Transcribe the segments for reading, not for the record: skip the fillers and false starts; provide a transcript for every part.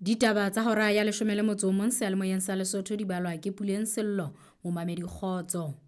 Ditaba tsa hora ya 11 seyalemoyeng sa Lesotho di balwa ke Puleng Sello, momamedi kgotso.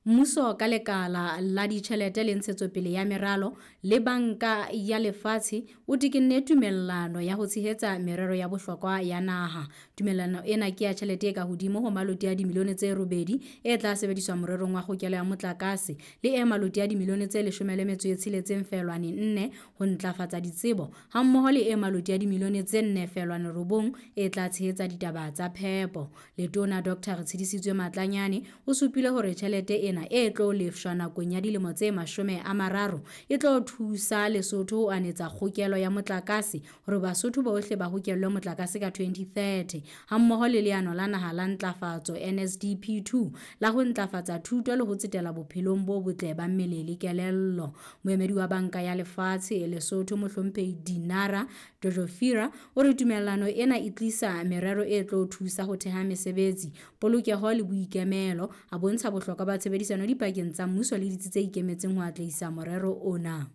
Mmuso ka lekala la ditjhelete le ntshetsopele ya meralo le Banka ya Lefatshe o tekenne tumellano ya ho tshehetsa merero ya bohlokwa ya naha. Tumellano ena ke ya tjhelete e ka hodimo ho maloti a dimilione tse 8 e tla sebediswa morerong wa kgokelo ya motlakase le e maloti a dimilione tse 16.4 ho ntlafatsa ditsebo hammoho le e maloti a dimilione tse 4.9 e tla tshehetsa ditaba tsa phepo. Letona Dr. Retshidisitswe Matlanyane o supile hore tjhelete ena e tlo lefshwa nakong ya dilemo tse 30 e tlo thusa Lesotho ho anetsa kgokelo ya motlakase hore Basotho bohle ba hokellwe motlakase ka 2030 hammoho le leano la naha la ntlafatso NSDP2 la ho ntlafatsa thuto le ho tsetela bophelong bo botle ba mmele le kelello. Moemedi wa Banka ya Lefatshe Lesotho Mohlomphehi Dinara Dojofira o re tumellano ena e tlisa merero e tlo thusa ho theha mesebetsi, polokeho le boikemelo, a bontsha bohlokwa ba tshebedisano dipakeng tsa mmuso le ditsi tse ikemetseng ho atlehisa morero ona.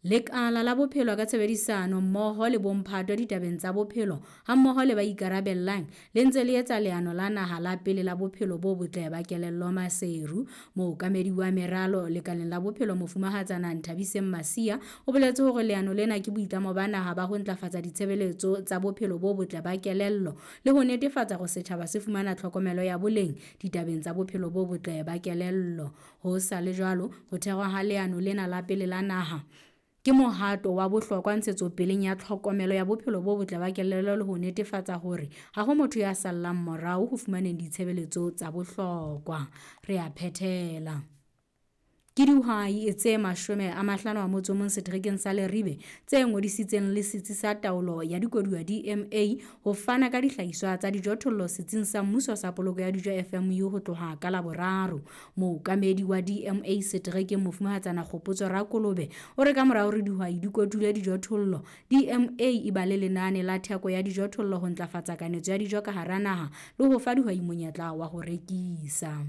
Lekala la bophelo ka tshebedisano mmoho le bomphato ditabeng tsa bophelo hammoho le ba ikarabellang le ntse le etsa leano la naha la pele la bophelo bo botle ba kelello Maseru. Mookamedi wa meralo lekaleng la bophelo Mofumahatsana Nthabiseng Masia o boletse hore leano lena ke boitlamo ba naha ba ho ntlafatsa ditshebeletso tsa bophelo bo botle ba kelello le ho netefatsa hore setjhaba se fumana tlhokomelo ya boleng ditabeng tsa bophelo bo botle ba kelello. Ho sa le jwalo, ho thehwa ha leano lena la pele la naha ke mohato wa bohlokwa ntshetsopeleng ya tlhokomelo ya bophelo bo botle ba kelello le ho netefatsa hore ha ho motho ya sallang morao ho fumaneng ditshebeletso tsa bohlokwa. Re a phethela. Ke dihwai tse 51 seterekeng sa Leribe tse ngodisitseng le Setsi sa Taolo ya Dikoduwa DMA ho fana ka dihlahiswa tsa dijothollo Setsing sa Mmuso sa Poloko ya Dijo FMU ho tloha ka Laboraro. Mookamedi wa DMA seterekeng Mofumahatsana Kgopotso Rakolobe o re ka mora hore dihwai di kotule dijothollo, DMA e ba le lenane la theko ya dijothollo ho ntlafatsa kanetso ya dijo ka hara naha le ho fa dihwai monyetla wa ho rekisa.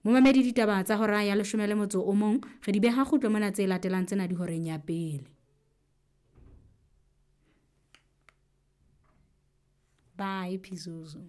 Momamedi ditaba tsa hora ya 11 re di beha kgutlo mona tse latelang tsena di horeng ya pele. Bye Phizuzu.